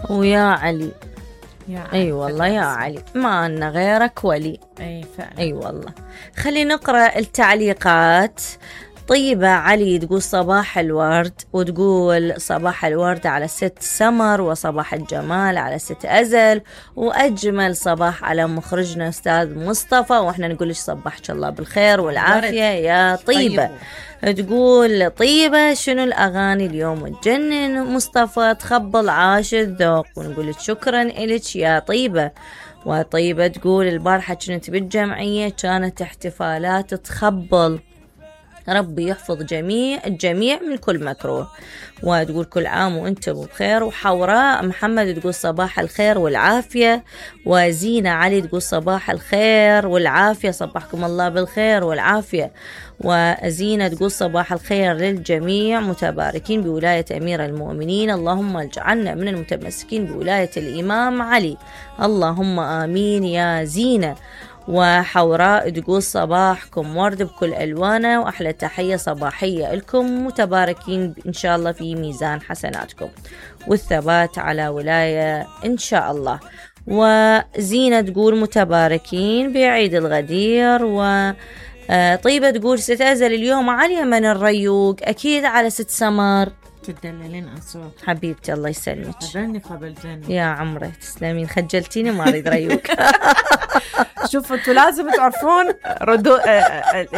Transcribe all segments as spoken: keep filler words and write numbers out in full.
ويا علي. يا اي أيوة والله يا علي، ما أن غيرك ولي. اي فعلا. اي أيوة والله. خلينا نقرأ التعليقات. طيبة علي تقول صباح الورد، وتقول صباح الورد على ست سمر، وصباح الجمال على ست أزل، وأجمل صباح على مخرجنا أستاذ مصطفى، وإحنا نقول لك صباحك الله بالخير والعافية يا طيبة. تقول طيبة شنو الأغاني اليوم تجنن مصطفى، تخبل عاش الذوق، ونقول لك شكرا إلك يا طيبة. وطيبة تقول البارحة كنت بالجمعية كانت احتفالات تخبل، ربي يحفظ جميع الجميع من كل مكروه. وتقول كل عام وانتم بخير. وحوراء محمد تقول صباح الخير والعافية. وزينة علي تقول صباح الخير والعافية، صباحكم الله بالخير والعافية. وزينة تقول صباح الخير للجميع، متباركين بولاية أمير المؤمنين، اللهم اجعلنا من المتمسكين بولاية الإمام علي، اللهم آمين يا زينة. وحوراء تقول صباحكم ورد بكل ألوانه، وأحلى تحية صباحية لكم، متباركين إن شاء الله في ميزان حسناتكم والثبات على ولاية إن شاء الله. وزينة تقول متباركين بعيد الغدير. وطيبة تقول ستأزل اليوم على من الريوق، أكيد على ست سمر تدللين أصوات حبيبتي الله يسلمك. أذني قبل جنة يا عمري تسلمين، خجلتيني ما أريد ريوق. شوفوا انتوا لازم تعرفون ردو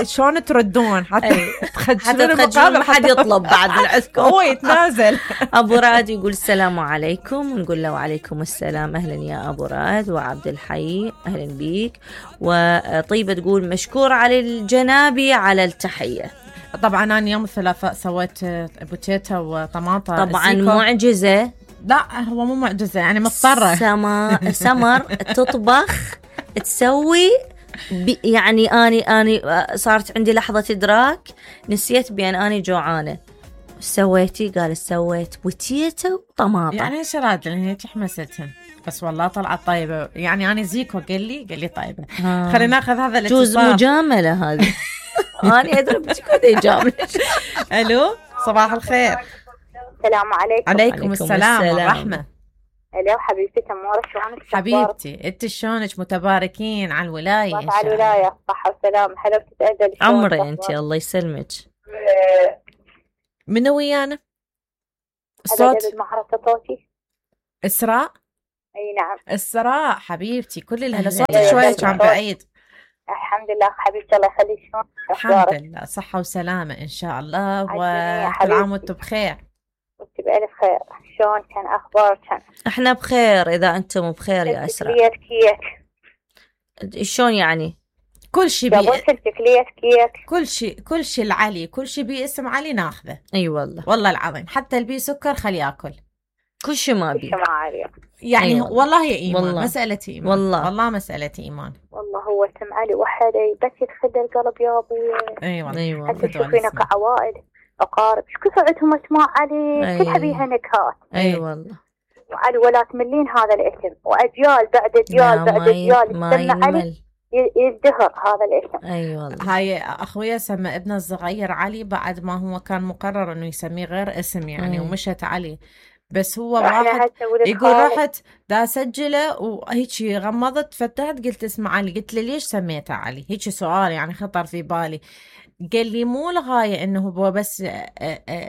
شلون تردون حتى تخجلون المقابل، ما حد يطلب بعد من عندكم. هو يتنازل. ابو راد يقول السلام عليكم، ونقول له وعليكم السلام، اهلا يا ابو راد. وعبد الحي اهلا بيك. وطيبه تقول مشكور على الجنابي على التحيه. طبعا انا يوم الثلاثاء سويت بوتيتا وطماطه طبعا معجزه. لا هو مو معجزه يعني مضطره. سمر سمر تطبخ تسوي يعني اني اني صارت عندي لحظه ادراك، نسيت بان اني جوعانه. سويتي؟ قال سويت بوتيتا وطماطم. يعني ايش راد لان هيك حمستهم، بس والله طلعت طيبه. يعني انا زيكو قال لي قال لي طيبه. آه. خلينا ناخذ هذا الاتصال. جوز مجامله هذه. أنا أدري كذا جامل. ألو صباح الخير. السلام عليكم. عليكم السلام والرحمة. ألو حبيبتي تمورة شلونك؟ حبيبتي أنت شلونك؟ متباركين على الولاية. على الولاية صحة وسلام. حلوة تتأجل عمري أنت الله يسلمك. منو ويانا؟ الصوت معرفة صوتي إسراء. أي نعم إسراء حبيبتي. كل اللي صوتك شوية كان بعيد. الحمد لله حبيبتي الله يخليك. شلون؟ الحمد لله صحة وسلامة إن شاء الله، وكل عام وأنتم بخير. وأنت بألف خير. شلون كان أخبارك؟ إحنا بخير إذا أنتم بخير يا أسراء. تكلية كيك شلون يعني؟ كل شيء بي تكلية كيك، كل شيء كل شيء العلي، كل شيء باسم علي ناخذه. أي والله والله العظيم، حتى البي سكر خلي ياكل كل شيء ما بي يعني. أيوة. والله يا إيمان والله. مسألة إيمان والله. والله مسألة إيمان. والله هو اسم علي وحدي بس يدخل القلب يا أبوي. أيوة أيوة. حتى تشوفينه كعوائل أقارب شو كثرتهم اسماء علي. أيوة. كلها بيها نكهات. أي أيوة. والله وعلي ولا تملين هذا الاسم، وأجيال بعد أجيال بعد أجيال يسمى علي يزدهر هذا الاسم. أي أيوة والله. هاي أخويا سمى ابنه الصغير علي بعد ما هو كان مقرر إنه يسميه غير اسم يعني. أي. ومشت علي، بس هو واحد يقول رحت دا سجله وهيك غمضت فتحت قلت اسمع علي، قلت له ليش سميته علي؟ هيك سؤال يعني خطر في بالي. قال لي مو الغاية انه هو بس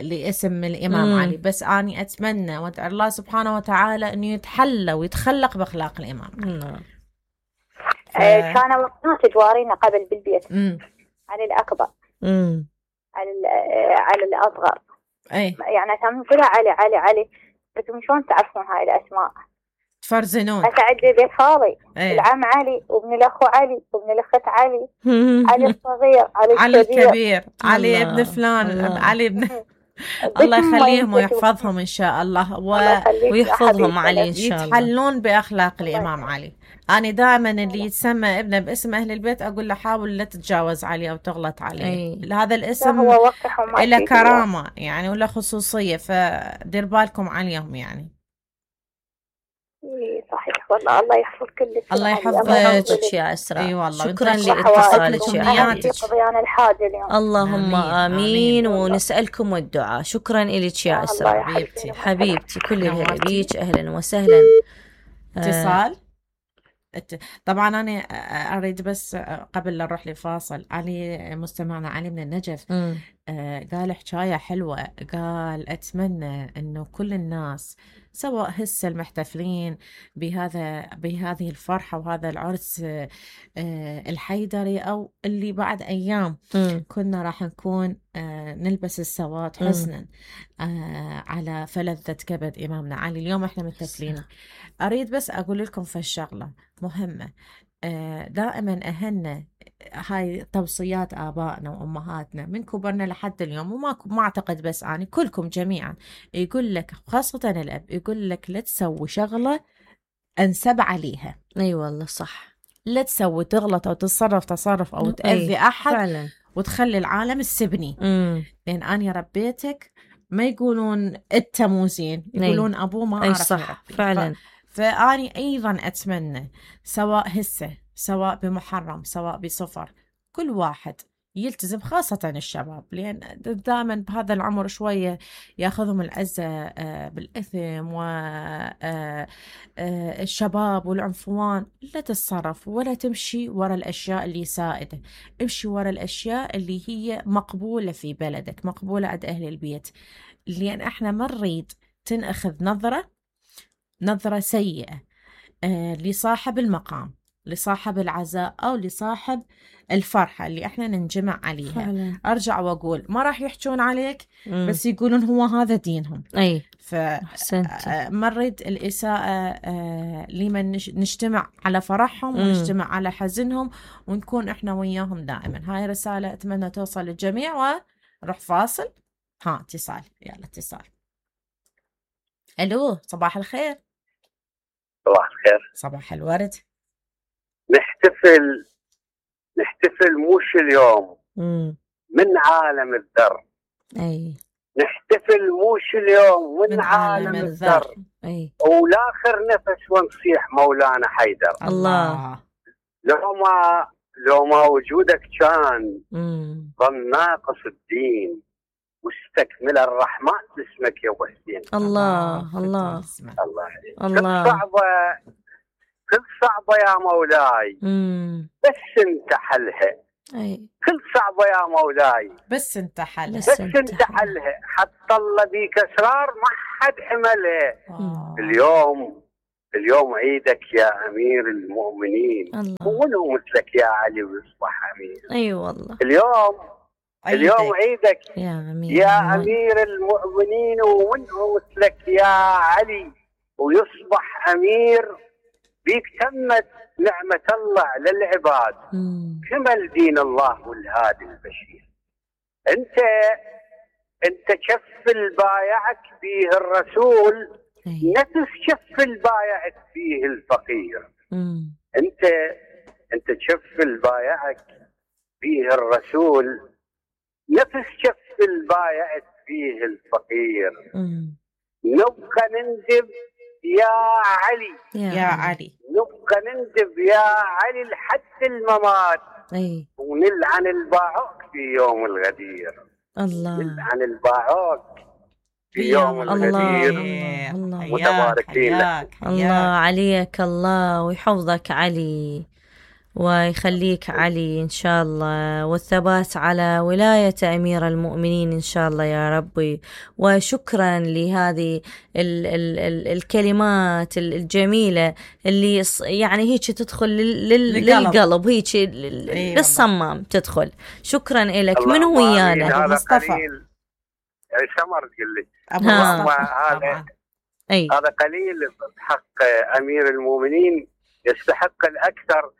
لاسم الامام مم. علي، بس اني اتمنى وادعو الله سبحانه وتعالى انه يتحلى ويتخلق باخلاق الامام. ف... آه كان وقتها تجوارينا قبل بالبيت مم. على الاكبر مم. على على الاصغر. اي يعني كان كلها علي علي علي، بس شلون تعرفون هاي الاسماء؟ تفرزنون. أسعد بيت خالي أيه. العم علي وابن الأخو علي وابن الأخت علي. علي الصغير علي, علي الكبير, الكبير. علي ابن فلان الله. علي ابن الله يخليهم ويحفظهم إن شاء الله و... ويحفظهم علي إن شاء الله، يتحلون بأخلاق الإمام علي. أنا دائما اللي يتسمى ابنه باسم أهل البيت أقول له حاول لا تتجاوز عليه أو تغلط عليه. أي. هذا الاسم له كرامة يعني ولا خصوصية، فدير بالكم عليهم يعني. صحيح والله الله يحفظ كل الله يحفظك يا اسراء. اي والله شكرا لاتصالك يا حبيبتي. قضيان الحاجه اليوم. اللهم امين, آمين. ونسالكم الدعاء. شكرا لك يا اسراء حبيبتي حبيبتي. كل الهلا بيك. اهلا وسهلا. اتصال. طبعا أنا أريد بس قبل لا نروح لفاصل، علي مستمعنا علي من النجف آه قال حكاية حلوة، قال أتمنى أنه كل الناس سواء هسه المحتفلين بهذا بهذه الفرحة وهذا العرس آه الحيدري أو اللي بعد أيام م. كنا راح نكون آه نلبس السواد حسنا آه على فلذة كبد إمامنا علي. اليوم إحنا متفلين. أريد بس أقول لكم في الشغلة مهمة، آه دائما أهلنا هاي توصيات آبائنا وأمهاتنا من كبرنا لحد اليوم، وما ما أعتقد بس أنا، كلكم جميعا يقول لك، خاصة الأب يقول لك لا تسوي شغلة أنسب عليها. أي أيوة والله صح. لا تسوي تغلط أو تتصرف تصرف أو تأذي أحد فعلا. وتخلي العالم السبني. مم. لأن أنا ربيتك ما يقولون أنت مو زين، يقولون أبوه ما أعرف صح فعلا. فأني أيضا أتمنى سواء هسه سواء بمحرم سواء بصفر كل واحد يلتزم، خاصة الشباب، لأن دائما بهذا العمر شوية ياخذهم العزة بالإثم والشباب والعنفوان. لا تتصرف ولا تمشي وراء الأشياء اللي سائدة، امشي وراء الأشياء اللي هي مقبولة في بلدك، مقبولة عند أهل البيت، لأن احنا ما نريد تنأخذ نظرة نظرة سيئة آه لصاحب المقام، لصاحب العزاء أو لصاحب الفرحة اللي احنا ننجمع عليها. فعلا. أرجع وأقول ما راح يحجون عليك مم. بس يقولون هو هذا دينهم. أي فما نريد الإساءة آه لمن نجتمع على فرحهم مم. ونجتمع على حزنهم ونكون احنا وياهم دائما. هاي رسالة أتمنى توصل للجميع. ونروح فاصل. ها اتصال، يلا اتصال. ألو صباح الخير. صباح الخير. صباح الورد. نحتفل نحتفل مش اليوم مم. من عالم الذر. أي نحتفل مش اليوم من, من عالم, عالم الذر. أي ولاخر نفس ونصيح مولانا حيدر. الله. لو ما لو ما وجودك كان ظن ناقص الدين واستكمل الرحمن اسمك يا ابو حسين. الله الله الله الله. كل صعبه كل صعبه يا مولاي مم. بس انت حلها. اي كل صعبه يا مولاي بس انت حلها. بس, بس انت حلها. حتى الله بيك اسرار ما حد حملها. آه. اليوم اليوم عيدك يا امير المؤمنين. ومنه مثلك يا علي ويصبح امير. اي أيوة والله. اليوم عيدك. اليوم عيدك يا أمير, يا أمير المؤمنين ومنه مثلك يا علي ويصبح أمير. بيك تمت نعمة الله للعباد. كمل دين الله والهادي البشير. أنت أنت كف البايعك فيه الرسول أي. نفس كف البايعك فيه الفقير. مم. أنت أنت كف البايعك فيه الرسول نفس كف البايعت فيه الفقير. مم. نبقى نندب يا علي يا, يا علي نبقى نندب يا علي لحد الممات. أي. ونلعن الباعوك في يوم الغدير. الله. نلعن الباعوك في يوم الغدير. الله متباركين لك. الله عليك الله ويحفظك علي ويخليك علي إن شاء الله، والثبات على ولاية أمير المؤمنين إن شاء الله يا ربي. وشكرا لهذه ال ال ال الكلمات الجميلة اللي يعني هيك تدخل لل للقلب هيك للصمام تدخل. شكرا لك. من هو ويانا؟ مصطفى. يعني سمر تقول لي هذا أي. هذا قليل بحق أمير المؤمنين، يستحق الأكثر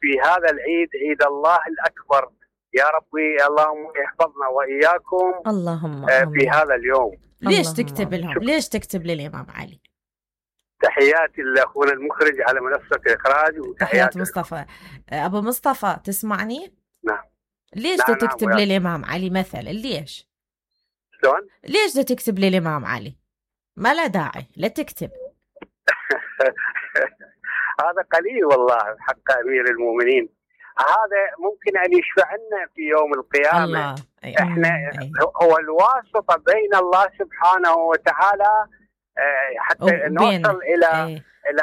في هذا العيد، عيد الله الأكبر. يا ربي اللهم يحفظنا وإياكم اللهم في هذا اليوم. ليش تكتب لهم؟ شكرا. ليش تكتب للإمام علي؟ تحياتي لأخونا المخرج على منصة الإخراج. وتحيات مصطفى. أبو مصطفى تسمعني؟ نعم. ليش نعم تكتب نعم للإمام علي مثلا؟ ليش؟ شلون؟ ليش تكتب للإمام علي؟ ما لا داعي لا تكتب. هذا قليل والله حق أمير المؤمنين. هذا ممكن أن يشفع لنا في يوم القيامة. الله. إحنا هو الواسطة بين الله سبحانه وتعالى حتى نوصل إلى أي. إلى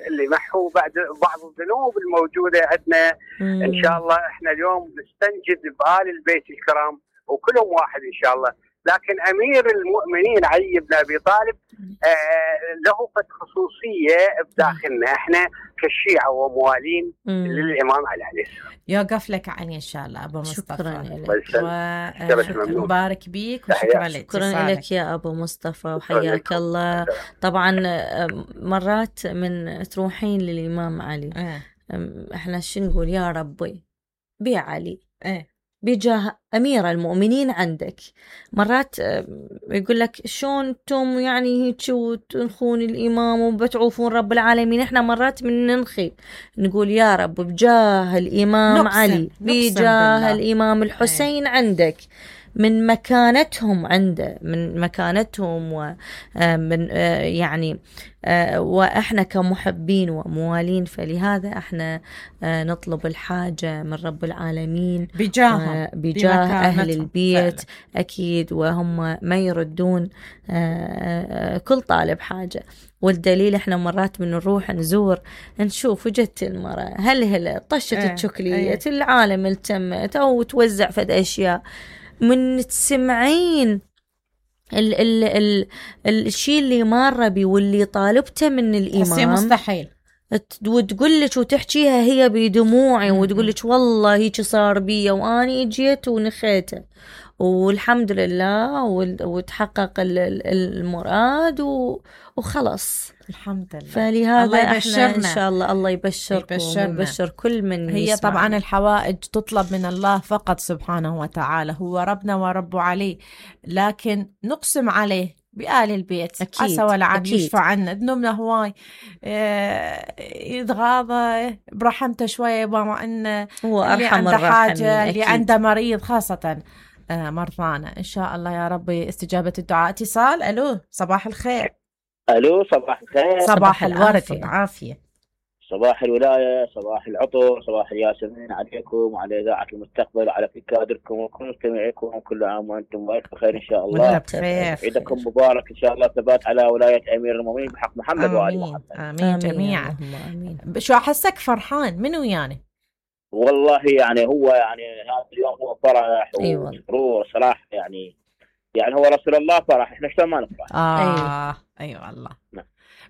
اللي محو بعد بعض الذنوب الموجودة عندنا. مم. إن شاء الله إحنا اليوم نستنجد بآل البيت الكرام وكلهم واحد إن شاء الله. لكن أمير المؤمنين علي بن أبي طالب آه له خصوصية بداخلنا إحنا كالشيعة وموالين مم. للإمام علي عليه السلام. يوقف لك عني إن شاء الله أبو مصطفى. شكرا لك ومبارك بيك وشكرا لك. شكرا لك يا أبو مصطفى وحياك الله. طبعا مرات من تروحين للإمام علي اه. إحنا شو نقول يا ربي بعلي اه. بجاه أمير المؤمنين عندك. مرات يقول لك شون انتم يعني هيك وتنخون الإمام وبتعوفون رب العالمين. احنا مرات من ننخي نقول يا رب بجاه الإمام نقسم. علي بجاه الإمام الحسين أي. عندك من مكانتهم عنده من مكانتهم ومن يعني وإحنا كمحبين وموالين فلهذا إحنا نطلب الحاجة من رب العالمين بجاه بجاه أهل البيت فعلا. أكيد وهم ما يردون كل طالب حاجة. والدليل إحنا مرات من نروح نزور نشوف وجدت المرأة هل هل طشت اه. الشكلية اه. العالم التمت أو توزع فد أشياء من تسمعين ال ال ال الشيء اللي مارة بي واللي طالبته من الإمام مستحيل وتقول لك وتحكيها هي بدموعي وتقول لك والله هيك صار بي وأني جيت ونخيته والحمد لله وتحقق المراد وخلص الحمد لله. فلهذا احنا ان شاء الله الله يبشركم ويبشر كل من هي يسمعنا. طبعا الحوائج تطلب من الله فقط سبحانه وتعالى هو ربنا ورب عليه لكن نقسم عليه بآل البيت أكيد. عسى ولعل يشفع عنا ذنوبنا هواي يتغاضى برحمته شوية بما أن هو اللي عنده حاجة أكيد. اللي عنده مريض خاصة مرضانا إن شاء الله يا ربي استجابة الدعاء. اتصال. ألو صباح الخير. ألو صباح الخير. صباح الورد والعافية. صباح الولاية صباح العطر صباح الياسمين عليكم وعلى إذاعة المستقبل وعلى كل كادركم وكل مستمعيكم وكل عام وأنتم بخير إن شاء الله. بخير. عيدكم مبارك إن شاء الله. ثبات على ولاية أمير المؤمنين بحق محمد وآل محمد. آمين, آمين جميعا. آمين. شو أحسك فرحان منو يعني؟ والله يعني هو يعني هذا اليوم هو فرح وسرور صراحة يعني يعني هو رسول الله فرح احنا شلون ما نفرح. اه ايوه ايوه والله.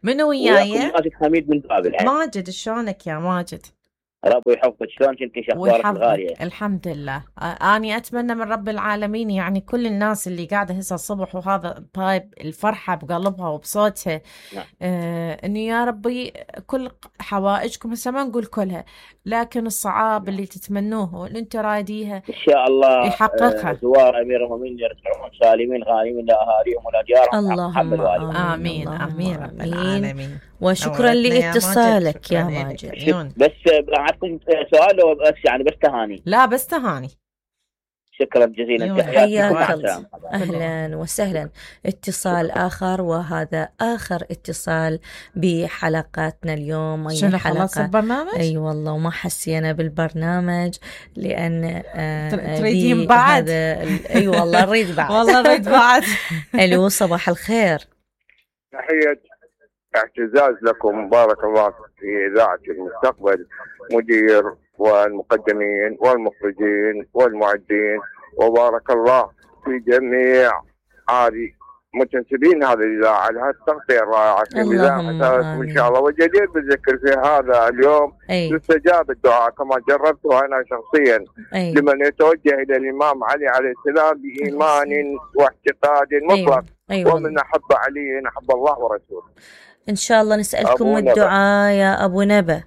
منو وياي؟ ماجد حميد من بابل. ماجد شلونك يا ماجد؟ ربي يحفظك. شلون كنتي اخبارك الغاليه؟ الحمد لله. اني اتمنى من رب العالمين يعني كل الناس اللي قاعده هسه الصبح وهذا بايب الفرحه بقلبها وبصوتها نعم. آه انه يا ربي كل حوائجكم هسه ما نقول كلها لكن الصعاب اللي تتمنوه واللي انت رايديها ان شاء الله يحققها. آه زوار امير المؤمنين يرجعون سالمين غانمين لاهاليهم ولديارهم. اللهم امين امين رب العالمين. وشكرا لاتصالك يا ماجد. بس عندكم سؤال او بس يعني بس تهاني؟ لا بس تهاني. شكرا جزيلا. حياك الله. اهلا وسهلا. اتصال اخر وهذا اخر اتصال بحلقاتنا اليوم. شنو خلص البرنامج؟ اي أيوة والله وما حسينا بالبرنامج لان آه تريدين بعد. اي أيوة والله نريد بعد. والله نريد بعد. الو صباح الخير. تحية اعتزاز لكم بارك الله في إذاعة المستقبل مدير والمقدمين والمخرجين والمعدين وبارك الله في جميع عادي متنسبين هذه الإذاعة على هذه التغطية الرائعة في الإذاعة إن شاء الله. وجدير بالذكر في هذا اليوم يستجاب الدعاء كما جربته أنا شخصيا أي. لمن يتوجه إلى الإمام علي عليه السلام بإيمان واعتقاد مطلق أي. أي. ومن أحب علي أحب الله ورسوله. إن شاء الله نسألكم الدعاء يا أبو نبا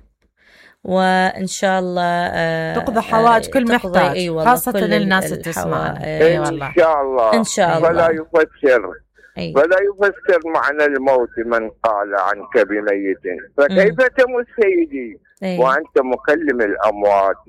وإن شاء الله تقضى حوائج كل محتاج أيوة خاصة للناس تسمع. أيوة إن شاء الله إن شاء الله. فلا يفسر أيوة. فلا يفسر معنى الموت من قال عنك بميت فكيف تموت سيدي أي. وأنت مكلم الأموات.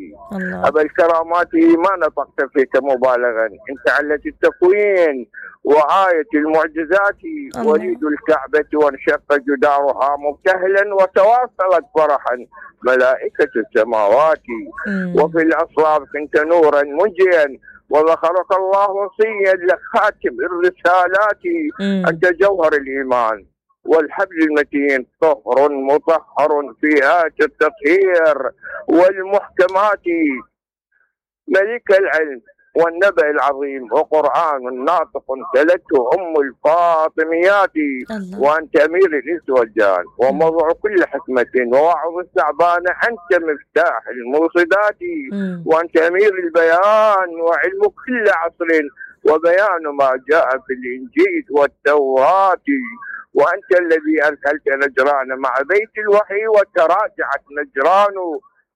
أبا الكرامات ما نطقت فيك مبالغا، أنت علة التكوين وآية المعجزات، وليد الكعبة وانشق جدارها مبتهلا وتواصلت فرحا ملائكة السماوات. مم. وفي الأصلاب كنت نورا منجيا وذكرك الله وصيا لخاتم الرسالات. مم. أنت جوهر الإيمان والحبل المتين، طهر مطهر في آية التطهير والمحكمات. ملك العلم والنبأ العظيم وقرآن ناطق تلته أم الفاطميات. وأنت أمير الإنس والجان وموضوع كل حكمة ووعظ الثعبان، أنت مفتاح الموصدات. وأنت أمير البيان وعلم كل عصر وبيان ما جاء في الإنجيل والتوراة. وأنت الذي أرسلت نجران مع بيت الوحي وتراجعت نجران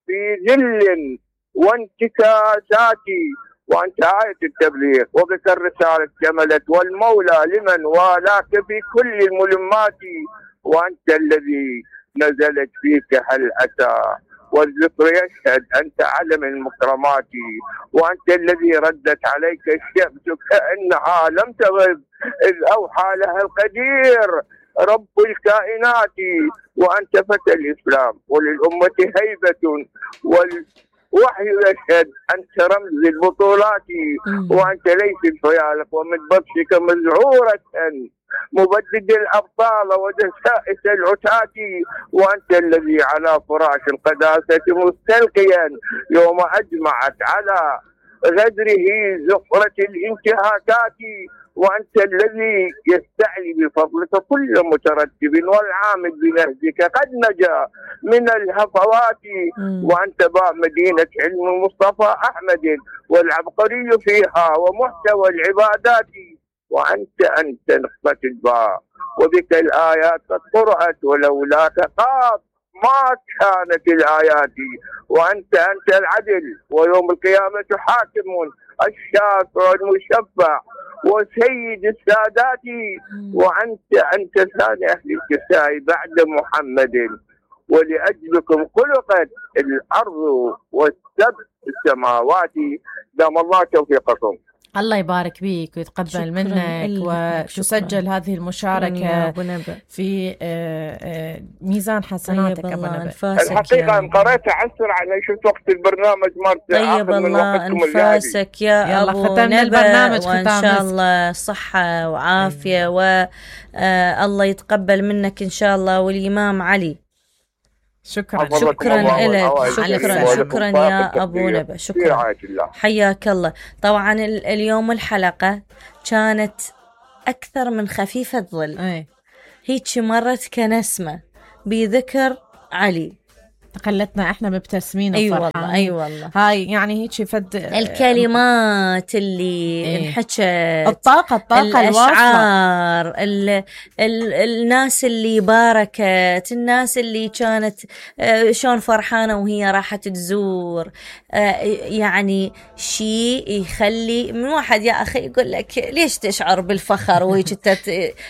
في ذل وانتكاسات. وأنت آية التبليغ وبك الرسالة كملت والمولى لمن والاك في كل الملمات. وأنت الذي نزلت فيك هل أتى والذكر يشهد، أنت علم المكرمات. وأنت الذي ردت عليك الشمس كأنها لم تغب إذ أوحى لها القدير رب الكائنات. وأنت فتى الإسلام وللأمة هيبة والوحي يشهد، أنت رمز البطولات. وأنت ليس فيالك ومن بطشك مزعورة مبدد الأبطال ودسائس العتاة. وأنت الذي على فراش القداسة مستلقيا يوم أجمعت على غدره زفرة الانتهاكات. وأنت الذي يستعلي بفضلك كل مترتب والعامل بنهجك قد نجا من الهفوات. وأنت باب مدينة علم المصطفى أحمد والعبقري فيها ومحتوى العبادات. وأنت أنت نقطة الباء وبك الآيات قد قرأت ولولاك قاف ما كانت الآيات. وأنت أنت العدل ويوم القيامة حاكم الشافع المشفع وسيد السادات. وأنت أنت ثاني أهل الكساء بعد محمد ولأجلكم خلقت الأرض والسبع السماوات. دام الله توفيقكم. الله يبارك بيك ويتقبل منك وتسجل هذه المشاركة في ميزان حسناتك. الحقيقة أن قرأت عسر على شفت وقت البرنامج مرت. طيب الله أنفاسك يا أبو نبأ، وإن شاء الله صحة وعافية والله يتقبل منك إن شاء الله. والإمام علي شكرا شكرا لك، شكرا شكرا يا أبو نبأ، شكرا حياك الله. طبعا اليوم الحلقة كانت أكثر من خفيفة ظل، هيك مرت كنسمة بذكر علي، تقلتنا احنا مبتسمين. اي أيوة والله اي أيوة والله. هاي يعني هيك فد الكلمات اللي ايه. انحكت، الطاقه الطاقه الاشعار ال... ال... الناس اللي باركت، الناس اللي كانت شلون فرحانه وهي راحت تزور، يعني شيء يخلي من واحد يا اخي يقول لك ليش تشعر بالفخر وهيك انت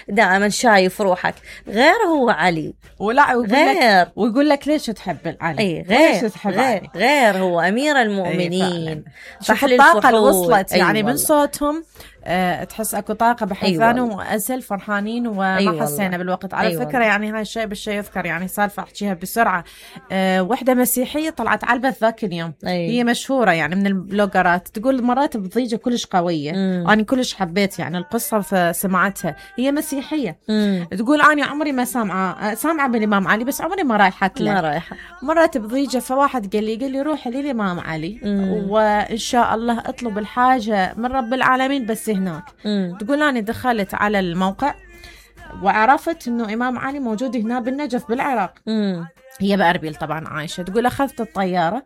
دائما شايف روحك. غير هو علي ولا غير ويقول لك ليش تحب علي. أي غير غير, غير هو أمير المؤمنين. فحل الطاقة اللي وصلت يعني من صوتهم أه تحس اكو طاقه بحيث أيوة. وأسل فرحانين وما أيوة حسينا بالوقت. على أيوة فكره يعني هاي الشيء بالشيء يذكر، يعني سالفه احكيها بسرعه. أه وحده مسيحيه طلعت علبت ذاك اليوم. أيوة. هي مشهوره يعني من البلوجرات، تقول مرات بضيجه كلش قويه. مم. انا كلش حبيت يعني القصه فسمعتها. هي مسيحيه. مم. تقول انا عمري ما سامعه سامعه بالامام علي بس عمري ما رايحت له. ما رايحه مرات بضيجه، فواحد قال لي قال لي روحي للامام علي. مم. وان شاء الله اطلب الحاجه من رب العالمين بس هناك. مم. تقول أنا دخلت على الموقع وعرفت إنه إمام علي موجود هنا بالنجف بالعراق. مم. هي بأربيل طبعا عايشة. تقول أخذت الطيارة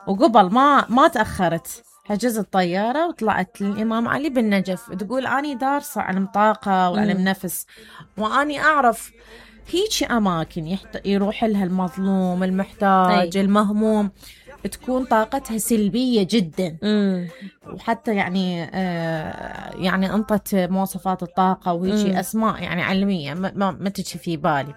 وقبل ما ما تأخرت حجزت الطيارة وطلعت للإمام علي بالنجف. تقول أنا دارسة علم طاقة وعلم نفس، وأني أعرف هيك أماكن يحت... يروح لها المظلوم المحتاج أي. المهموم تكون طاقتها سلبية جدا. مم. وحتى يعني آه يعني انطت مواصفات الطاقة وهيك أسماء يعني علمية ما, ما تجي في بالي.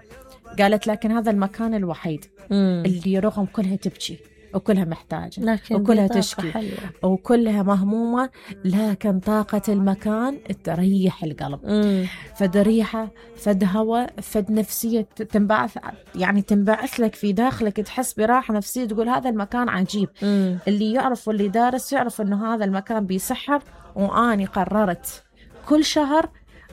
قالت لكن هذا المكان الوحيد مم. اللي رغم كلها تبكي وكلها محتاجة وكلها تشكي حلوة. وكلها مهمومة، لكن طاقة المكان تريح القلب. مم. فد ريحة، فد هواء، فد نفسية تنبعث، يعني تنبعث لك في داخلك، تحس براحة نفسية، تقول هذا المكان عجيب. مم. اللي يعرف واللي دارس يعرف انه هذا المكان بيسحر. واني قررت كل شهر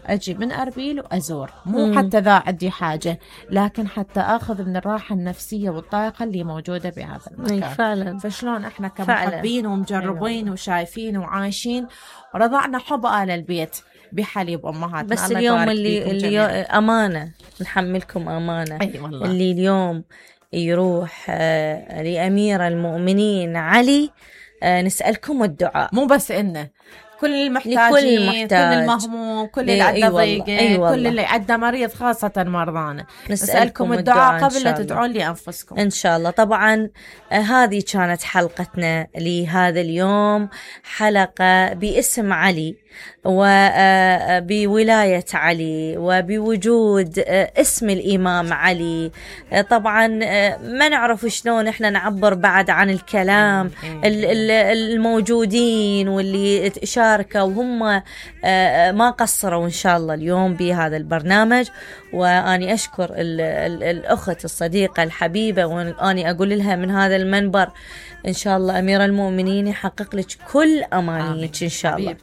أجي من أربيل وأزور، مو مم. حتى ذا عندي حاجة، لكن حتى أخذ من الراحة النفسية والطاقة اللي موجودة بهذا المكان. فعلا. فشلون إحنا كمحبين ومجربين أيوة. وشايفين وعايشين رضعنا حب آل البيت بحليب أمهاتنا. بس اليوم اللي, اللي أمانة نحملكم أمانة. أي والله. اللي اليوم يروح لأمير المؤمنين علي، نسألكم الدعاء، مو بس إنه كل المحتاجين، كل المهموم، كل اللي عنده ضيقة، كل اللي عنده مريض، خاصة مرضانا، نسألكم الدعاء قبل لا تدعون لأنفسكم إن شاء الله. طبعا هذه كانت حلقتنا لهذا اليوم، حلقة باسم علي وبولاية علي وبوجود اسم الإمام علي. طبعا ما نعرف شلون إحنا نعبر بعد عن الكلام الموجودين واللي شاركوا، وهم ما قصروا إن شاء الله اليوم بهذا البرنامج. وأني أشكر ال ال الأخت الصديقة الحبيبة، وأني أقول لها من هذا المنبر إن شاء الله أمير المؤمنين يحقق لك كل أمانيك إن شاء الله.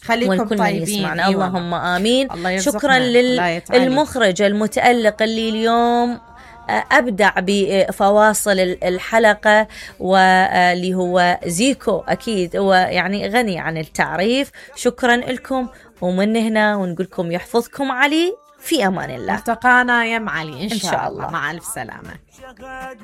خليكم طيبين يسمعنا. اللهم آمين. شكرا للمخرج المتألق اللي اليوم أبدع بفواصل الحلقة، واللي هو زيكو، أكيد هو يعني غني عن التعريف. شكرا لكم، ومن هنا ونقولكم يحفظكم علي، في أمان الله. التقانا يا معلي إن, إن شاء الله. مع ألف سلامة.